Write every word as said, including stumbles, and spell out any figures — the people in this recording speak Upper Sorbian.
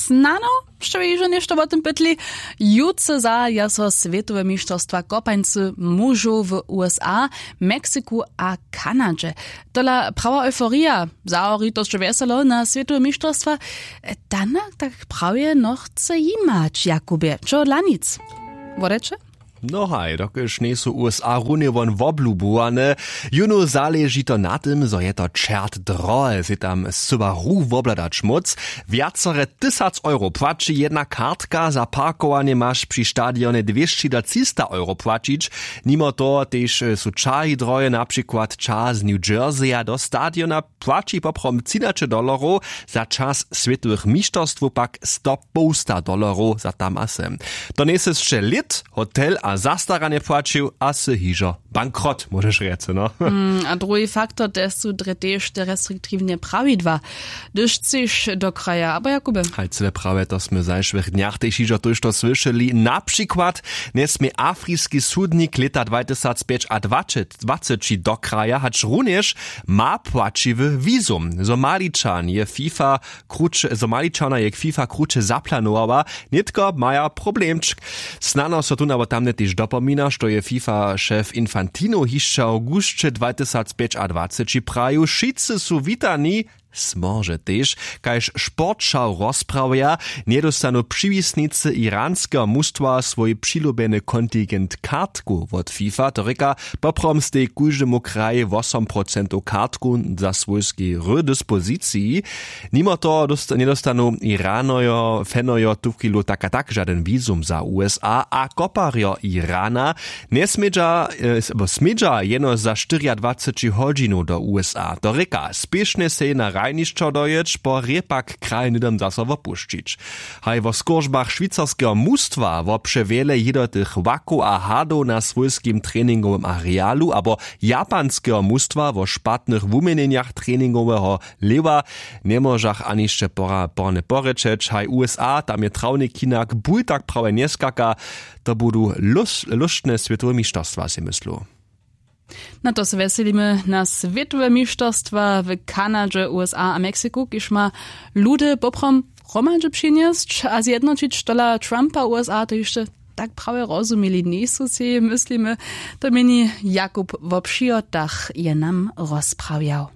Snano, što by hižo něšto wo tym pytli. Jutře zahaja so swětowe mišterstwa kopańcy mužow w usa, meksiku a kanadźe. Tola prawa euforija, zahori to sće wjeselo na swětowe mišterstwa. Tana tak prawje nochce jimać jakubje, čehodla nic. Wodeće? No haj, dokelž njejsu usa runje won woblubowane, jónu zaleži to na tym, zo je to čert drohe sej tam subaru wobhladać móc. Wjacore tysac euro płaći jedna kartka, za parkowanje maš při stadionje dwěsći do třista euro płaćić. Nimo toho tež su čahi drohe, na přikład ča z new jerseya do stadiona płaći poprawom třinaće dollarow, za čas swětowych mišterstwow pak sto połsta dollarow za tam a sem. To njejsysće lět, hotel a zastaranje płaćił a sy hižo bankrot, móžeš rjece no. A druhi faktor, te su drje tež te restriktiwne prawidła, hdyž chceš do kraja abo jakube. Haj cyle prawje, to smy w zašłych dnjach tež hižo tójšto słyšeli. Na přikład njesmě afriski sudnik lěta dwatysacpjećadwaceći do kraja, hačrunjež ma płaćiwy wizum. Zo maličan je fifa kruće zo maličana je fifa kruće zaplanowała, nětko maja problemčk. Snano so tón abo tamne tež dopomina, što je fifa šef infantino hišće awgusće dwatysacpjećadwaceći prajił, wšitcy su witani. Smorže tež, kaž sportšał rozprawja, njedostanu přiwisnicy iranskeho mustwa swój přilubjeny kontingent kartku wot fifa, to rěka, poprawom stej kóždemu krajej wosom procentow kartku za swójski hry dispoziciji. Nimo toho njedostanu iranojo fanojo tuchwilu tak a tak žadyn wizum za usa a koparjo irana njesmědźa smědźa jeno za štyriadwaceći hodźinow do usa, to rěka spěšnje sej na hranišćo dojěć po rěpak kraj hnydom zaso wopušćić. Haj wo skóržbach šwicarskeho mustwa wopřewjele jědotych wakow a hadow na swójskim treningowym arealu abo japanskeho mustwa wo špatnych wuměnjenjach treningoweho lewa, njemóžach ani hišće porane porěčeć. Haj usa tam je trawnik hinak bul tak prawje njeskaka. To budu lóštne swětowe mišterstwa sej myslu. Na to se wjeselimy na swětowe mišterstwa w kanadźe usa a mexiku kiž ma ludy poprawom hromadźe přinjesć a zjednoćić tola trumpa usa to hišće tak prawje rozumili njejsu sej myslimy. To měni jakub wo přihotach je nam rozprawjał.